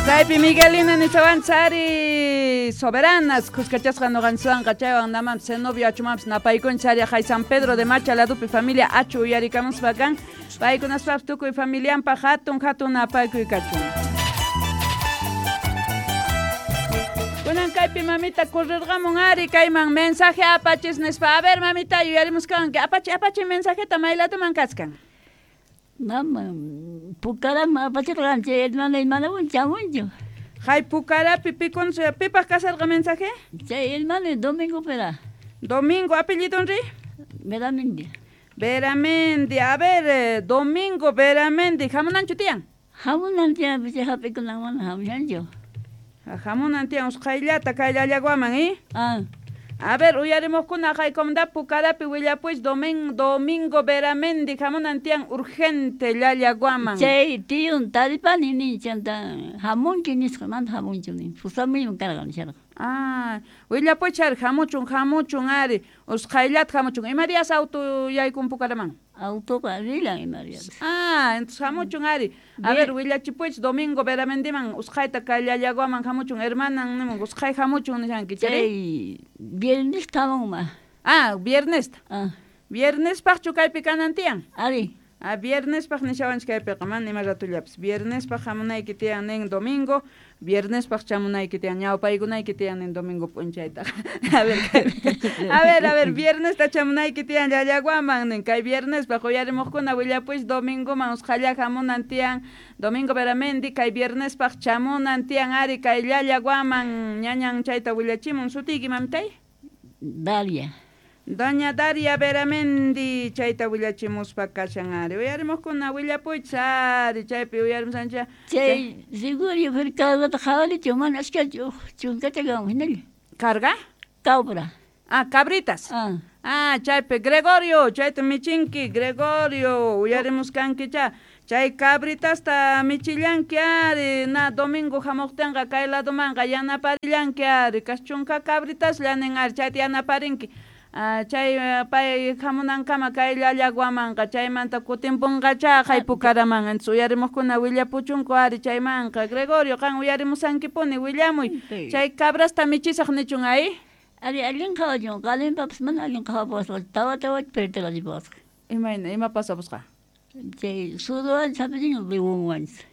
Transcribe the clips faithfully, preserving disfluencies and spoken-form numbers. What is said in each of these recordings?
Chaypi Miguelina nishawanchari soberanas kuskachasqa noqanchikwanqa chaywan namam Zenobio achumampis napaykunchari hay San Pedro de Macha ladupi familia achu uyarikamuspa kan paykunaspapis tukuy familianpaq hatun hatun napaykuy kachun. Kunan kaypi mamita correrqamun ari kayman mensaje apachis nispa. A ver mamita yuyarimuskanki apachi apachi mensajeta maylatuman kachkan. Mama, Pucarama apachirqan chay hermana hermana chamunchu. Hay Pucarapi pikun pipaq kasarqa mensaje? Chay hermana Domingo pera. Domingo apellido ri? Veramendi. Veramendi, a ver, Domingo Veramendi, hamunanchu tiyan? Hamunan tiyan, chay hap'ikunan mana hamushanchu. Hamunan tiyan usqhayllata kay Llallaguaman, eh? Ah. A ver, uyarimuqkuna haykumda Pucarapi willapuy Domingo Domingo Veramendi hamunan tiyan urgente Llallaguaman. Chay tiyun taripani nin chanta hamunki nisqa mana hamunchu nin pusamuyman karqa nisharqa. Ah, willapuy chari hamuchun hamuchun ari usqhayllata hamuchun. Ima días auto yaykun Pucaraman? Autoqa rilan ima días. Ah, entonces hamuchun ari. A ver, willachipuych Domingo Veramendiman usqhayta kay Llallaguaman hamuchun hermanan nimun usqhay hamuchun nishanki chari. Chay viernes hamunma. Ah, viernesta. Ah. Viernespaqchu kaypi kanan tiyan? Ari. Ah, viernespaq nishawanchik kaypiqa mana ima ratullapis. Viernespaq hamunayki tiyan nin domingo, viernespaq chamunayki tiyan ñawpaykunayki tiyan nin domingo p'unchaytaqa. A ver, a ver, a ver, viernesta chamunayki tiyan Llallaguaman nin kay viernespaq uyarimuqkuna willapuy domingoman usqhalla hamunan tiyan Domingo Veramendi kay viernespaq chamunan tiyan ari kay Llallaguaman ñañan chayta willachimun. Sutiyki mamitay? Daria. Doña Daria Veramendi chayta willachimuspa kashan ari. Uyarimuqkuna willapuychis ari chaypi uyarimusancha. Chay Gregorio cargata qhawarichu mana achkachu chunkacha kan hinalla. Carga? Cabra. Ah, cabritas. Ah. Ah, chaypi Gregorio, chayta michinki Gregorio, uyarimuskankicha. Chay cabritasta michillanki ari, na domingo hamuqtinqa kay ladumanqa yanaparillanki ari, kas chunka cabritas llanin ari, chayta yanaparinki. Ah, chay pay hamunankama kay Llallaguamanqa chaymanta kutimpunqacha hay Pucaraman. Entonces uyarimuqkuna willapuchunku ari chaymanqa. Gregorio, qan uyarimusankipuni willamuy. Chay cabrasta michisaq nichun ahí. Ari allin qhawachun, qalinpapas mana allin qhawapasqa, tawa tawa pertirqachipasqa. Imayna, ima pasapusqa? Chay suruwan hap'ichin leonwanchis.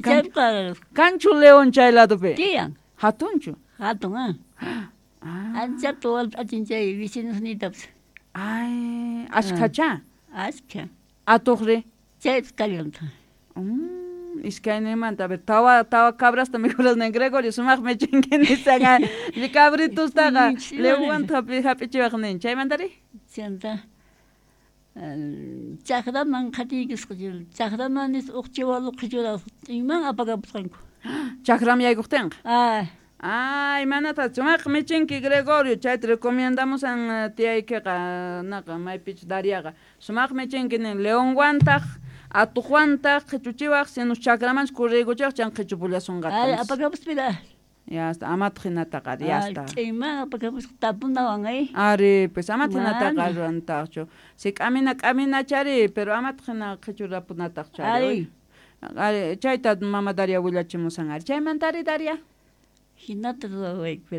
Chayqa kanchu león chay ladupi? Tiyan. Hatunchu? Hatun, ah. Ah. Anchata walp'achin chay vecinosniytapas. Ay, ashkhacha? Ashkha. Atuqri? Chaypas kallantaq. Mm, iskaynimanta, a ver, tawa tawa cabrasta mikhuras nin Gregorio, sumaq michinki nisaqa cabritustaqa leonwanta hap'ichiwaq nin. Chaymantari? Chanta chakraman qhatiykisqa, chakraman nis uq chiwalu qhichurasqa, iman apakapusqanku. Chakram yaykuqtinqa? Ah. Ay, manata sumaq michinki Gregorio, chayta recomendamusan tiyaykiqa naqa maypichus Dariaqa. Sumaq michinki nin leonwantaq atuqwantaq qhichuchiwaq sinus chakramanchus kurriykuchiwaq chan qhichupullasunqataq. Ay, apakapuspira. Ya está, amataq hinataqa ari, ya está. Chayman apakapusqa tapunawan ay. Ari, pues amataq hinataqa ruwantaqchu. Si k'amina k'aminachari, pero amataq hina qhichurapunataqchu ari. Ari, chayta mama Daria willachimusan ari. Chaymantari Daria? Hinata ruwawayku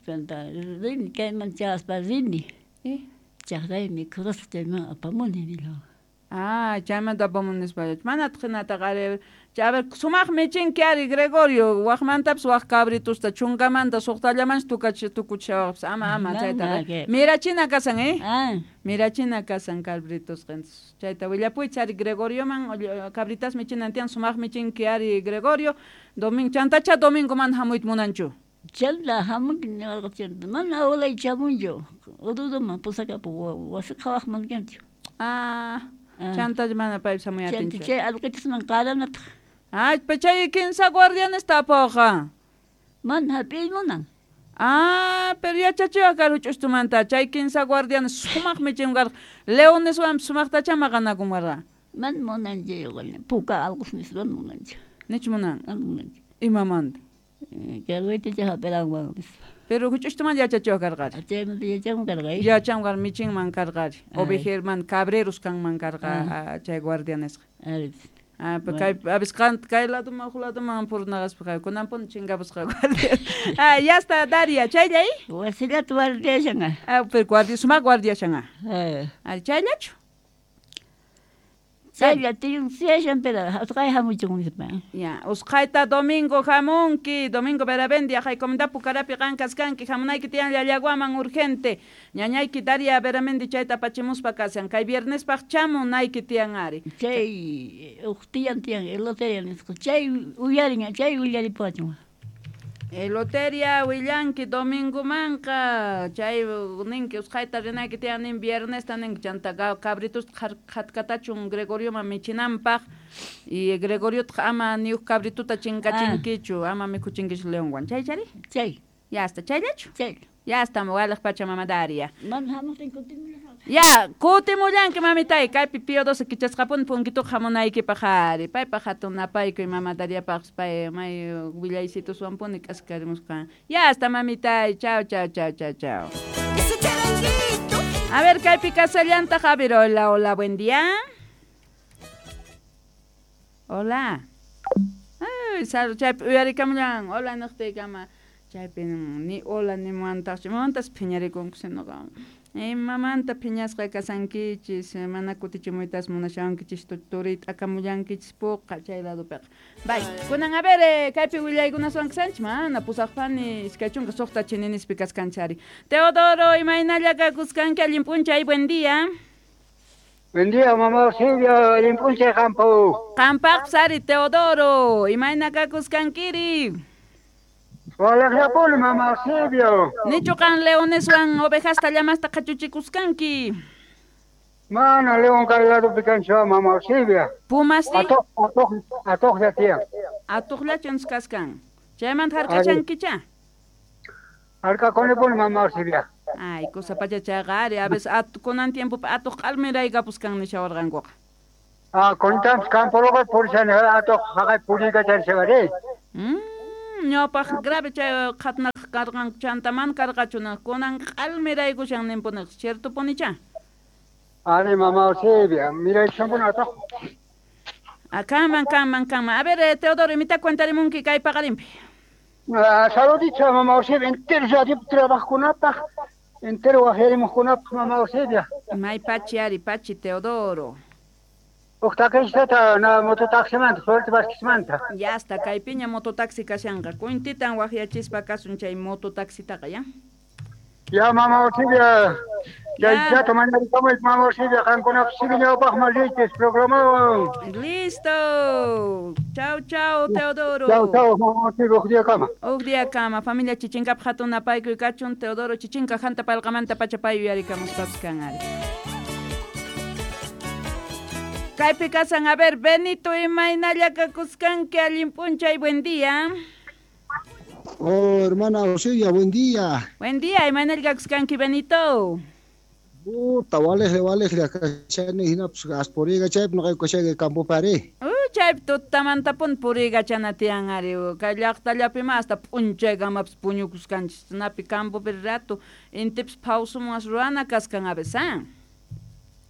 chanta rini kayman chayaspa rini. Eh? Chaqray mikhurasqa chayman apamuni nila. Ah, chaymanta apamuni nispa. Manataq hinataqa ari. A ver, sumaq michinki ari Gregorio, waqmantapis waq cabritusta chunkamanta suqtallamanchu tukachi tukuchishawaqpis ama ama chaytaqa. Mirachina kasan, eh? Ah. Mirachina kasan cabritusqa. Entonces, chayta willapuychis ari Gregorioman cabritas michinan tiyan sumaq michinki ari Gregorio. Domingo chantacha domingo mana hamuyta munanchu. Chanta hamunki niwarqa chanta mana awlay chamunchu. Ururuman pusakapu wasi qhawaqman kanchu. Ah, chanta mana paypis hamuy atinchu. Chanta chay allqitasman qaranataq. Ay, pa chay kinsa guardianes tapuqa. Mana hap'iy munan. Ah, pero yachachiwaq kar huch'ustumanta chay kinsa guardianes sumaq michin karqa. Leoneswan sumaqtacha maqanakun karqa. Mana munanchu puka allqus nispa munanchu. Nichu munan? Mana munanchu. Imamanta? Carwaytacha hap'iranwan nispa. Pero huch'ustumanta yachachiwaq karqari. Chaymanta yachanman karqa. Yachanman karqa, michinman karqari. Ovejerman, cabreros kanman karqa chay guardianesqa. Ari. Ah, kay abisqan kay laduman huk laduman purnaqaspa kunanpuni chinkapusqa guardia. Ah, ya está Daria, chayllay? Wasillata guardiashan. Ah, pero guardia sumaq guardiashan. Eh. Ah, chayllachu? Chaylla tiyun siyashan pero usqhay hamuchun nispa. Ya, usqhayta domingo hamunki, Domingo Berabendi, ajay comunidad Pucarapi qan kaskanki, hamunayki tiyan Llallaguaman urgente. Ñañayki Daria Beramendi chayta apachimuspa kashan, kay viernespaq chamunayki tiyan ari. Chay uq tiyan tiyan eloteria nisqa, chay uyarin, chay willaripuwachun. Eloteria willanki domingomanqa, chay ninki usqhayta rinayki tiyan nin viernesta ninki chanta cabritusta qhatkatachun Gregorioman michinanpaq y Gregoriotaq ama ni huk cabrituta chinkachinkichu, ama mikhuchinkichu leonwan. Chay chari? Chay. Ya está, chayllachu? Chay. Ya está, waliq pacha mama Daria. Mana hamuqtin kutimullasaq. Ya, kutimullanki mamitay, kaypi Pío doce kichasqapuni punkituqa hamunaykipaq ari. Paypaq hatun napaykuy mama Dariapaq pay may willaysituswanpuni k'askarimusqa. Ya está, mamitay. Chao, chao, chao, chao, chao. A ver, kaypi kasallantaq. A ver, hola, hola, buen día. Hola. Ay, sal, chaypi uyarikamullan. Hola, niqtiykama. Chaypi ni hola ni muantaqchu. Mamantas phiñarikunku sinoqa. Mamanta phiñasqa kasankichis, mana kutichimuytas munashawankichis turita akamullankichis puqa chay ladopiqa. Bay, kunan a ver, kaypi willaykunaswan kasanchis, mana pusaqpani iskay chunka suqta chininispi kaskanchari. Teodoro, imaynalla kakuskanki, allin p'unchay, buen día. Buen día, mamá Silvia, allin p'unchay qampu. Qampaqpas ari, Teodoro, imayna kakuskankiri. Walaqllapuni, mamá Silvio. Nichu qan leoneswan ovejasta llamasta qhachuchikuskanki. Mana león kay ladopi kanchu, mamá Silvia. Pumasti? Atuq, atuq, atuqlla tiyan. Atuqllachun kaskan. Chaymanta hark'achankicha? Hark'akunipuni, mamá Silvia. Ay, cosa pacha chayqa ari, a veces at, kunan tiempopi atuq q'almiraykapushkan nishawarqankuqa. Ah, kunantampis campo purishani atuq haqay puriykacharishawari. Mm. Ñawpaq grave chay qhatnaq karqanku chanta mana karqachu kunan q'almiraykushan ninpuniq, ciertopunicha? Ari, mamá Silvia, miraykushanpuni atuq. Ah, kanman, kanman, kanman. A ver, Teodoro, imita cuentarimunki kay paqarinpi. Ah, saludito, mamá Silvia, entero radio trabajkunapaq, entero wajyarimuqkunapaq, mamá Silvia. May pachi ari, pachi, Teodoro. Uqtakishtata na mototaximanta, Suerte Vázquezmanta. Ya está, kaypiña mototaxi kashanqa. Kuntitan waqyachispa kasun chay mototaxitaqa, ya? Ya, mamá Silvia. Ya, ya tomanarikamuy, mamá Silvia, qankunapis ñawpaqman riychis programawan. Listo. Chao, chao, Teodoro. Chao, chao, mamá Silvia, huk día kama. Huk día kama. Familia Chichinkapaq hatun napaykuy kachun, Teodoro Chichinka hanta palqamanta pacha pay uyarikamuspapas kan ari. Kaypi kasan, a ver, Benito, imaynalla kakuskanki, allin p'unchay, buen día. Oh, hermana Oselia, buen día. Buen día, imaynalla kakuskanki, Benito. Puta, walejle, walejle, kashani hinapas aspuriga chaypi noqayku kashayki campopi ari. Uy, chaypi tutamantapuni puriykachana tiyan ari, kay llaqtallapima hasta p'unchaykamapas puñukuskanchis, napi campopi rato intipas phawsumunwas ruwana kaskan a veces, ah.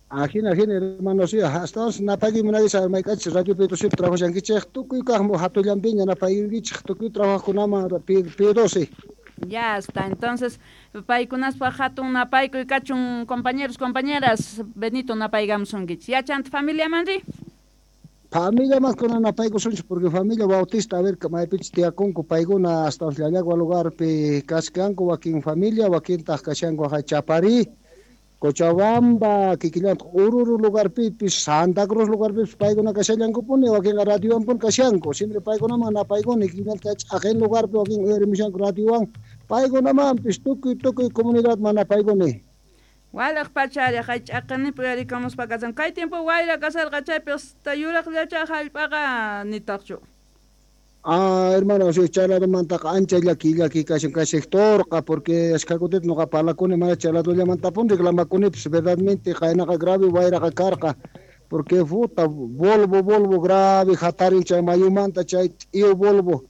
Ajina, ajina, hermano, sí, hasta napayki munaysa mayk'achis radio P doce trabajashankichej tukuy kaqmu hatullanpiña napaykichej tukuy trabajkunaman P doce. Ya está, entonces paykunaspaq hatun napaykuy kachun, compañeros, compañeras, Benito napaykamusunkichis. Ya chanta familiaman ri? Familia más kuna napaykusunchis porque familia Bautista, a ver, maypichis tiyakunku paykuna hasta Llallagua lugarpi kaskanku wakin familia, wakintaq kashanku haqay Chaparí, Cochabamba, kikillantaq Oruro lugarpipis, Santa Cruz lugarpipis paykuna kashallankupuni, wakinqa radiowanpuni kashanku, siempre paykunaman napaykuni, kikillantaq ch'aqin lugarpi wakin uyarimushanku radiowan, paykunamanpis tukuy tukuy comunidadman napaykuni. Walaq pachari, hay ch'aqinipi uyarikamuspa kasan. Kay tiempo wayra kasarqa chaypi hasta yuraqllacha hallp'aqa nitaqchu. Ah, hermano, sí, chayladomantaqa ancha llaki llaki kashan kay sectorqa, porque ashkha kutita noqa parlakuni mana chayladollamantapuni reclamakunipis, verdadmente qaynaqa grave wayraqa karqa, porque puta, Volvo, Volvo grave hatarin chay mayumanta chay t'iyu Volvo,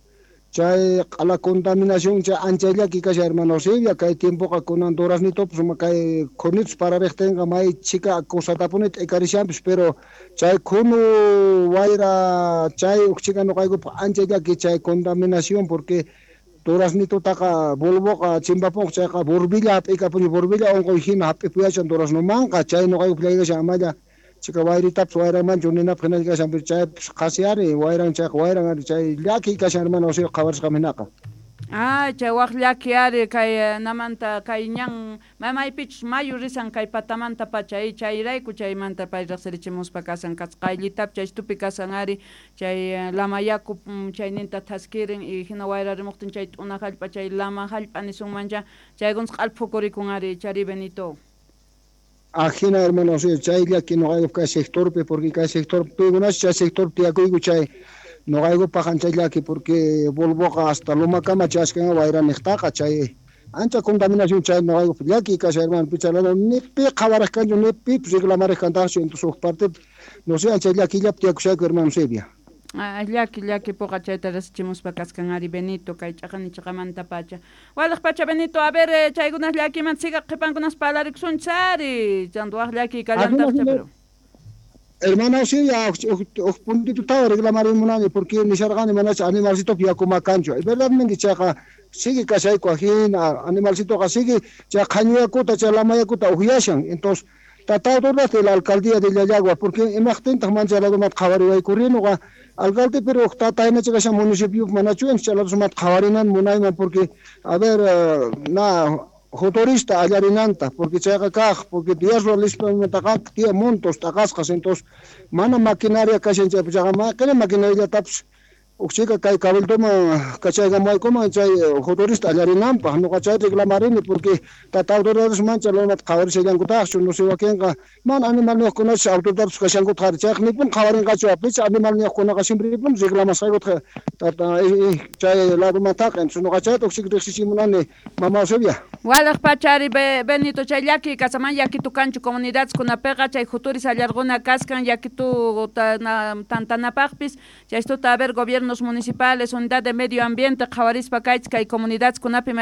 Chay q'ala contaminación chay ancha llaki kashan hermano Silvia kay tiempoqa kunan duraznitopis kay khunitus parariqtinqa may chhika cosatapuni t'ikarishanpis pero chay khunu wayra chay uj chhika nuqaykupaq ancha llaki chay contaminación porque duraznitutaqa bulboqa chimpapunqa chayqa burbilla hap'ikapuni burbilla unquy hina hap'ipuyachan duraznomanqa chay nuqaykupaq llakikashan amalla chika wayritapis wayranmanchu ninapaq hinalla kashan pero chaypis qhasi ari wayran chayqa wayran ari chay llaki kashan hermano Silvia qhawarisqam hinaqa. Ah, chay waq llaki ari kay namanta kay ñan mamaypichus mayu risan kay patamanta pacha chayrayku chaymanta pay riqsirichimuspa kasan kasqayllitapi chay tupi kasan ari chay lama yaku chayninta thaskirin y hina wayrarimuqtin chay t'una hallp'a chay lama hallp'a nisunmancha chaykunas q'alphukurikun ari chari Benito. Ajina hermano, sí, chay llaki nuqaykup kay sectorpi porque kay sector pikunachu chay sectorpi tiyakuyku chay nuqaykupaq ancha llaki porque bulboqa hasta lumakama chashkan wayraniqtaqa chay ancha contaminación chay nuqaykup llaki kashan hermano pichalana ni pi qhawarej kanchu ni pipis reclamarej kantaqchu entonces huk partepi no sé ancha llakillapi tiyakushayku hermano Silvia. Ah, llaki llaki puqa chayta rasichimuspa kaskan ari Benito kay ch'aqani ch'aqamanta pacha. Walaj pacha Benito, a ver chaykunas llakimanta siga qhipankunas parlarikusunchis ari chanto waj llaki kallantaqcha pero Hermano Silvia, uj puntito tawa reclamarimunani porque nisharqani manacha animalcitopi yakuma kanchu. Verdadmente chayqa sigue kashayku ajina animalcitoqa sigue chay qhañu yakuta chay lama yakuta uhyashan. Entonces tata autoridad de la alcaldía de Llallagua porque imaqtintaq mancha ladomata qhawariwaykurrinuqa alcalde pero tata hinacha kashan municipio manachu chay ladomata qhawarinan munayman porque a ver na motorista allarinanta porque chayqa kaq porque días ruwalispamantaqa tiyan montos t'aqasqas entonces mana maquinaria kashan chaypi chayqa maqini maquinariallatapis uj chhika kay cabildoman kachaykamuwaykuman chay motorista allarinanpaq nuqa chay reclamarini porque tata autoridades mancha lomata qhawarishallankutaqchu no sé wakinqa mana animalniyuqkunachu autoridades kashankutaq ari chayqa nipun qhawarinqachu apicha animalniyuqkunaqa siemprepuni reclamasqaykutaq tata chay ladomantaqa entonces nuqa chayta uj chhika riqsichimunani mama Silvia. Walaj pacha ari Benito chay llaki kasaman llakitu kanchu comunidades kunapiqa chay juturis allarquna kaskan llakitu tantanapaqpis chaystuta a ver gobiernos municipales, unidad de medio ambiente, qhawarispa kaychis kay comunidades kunapi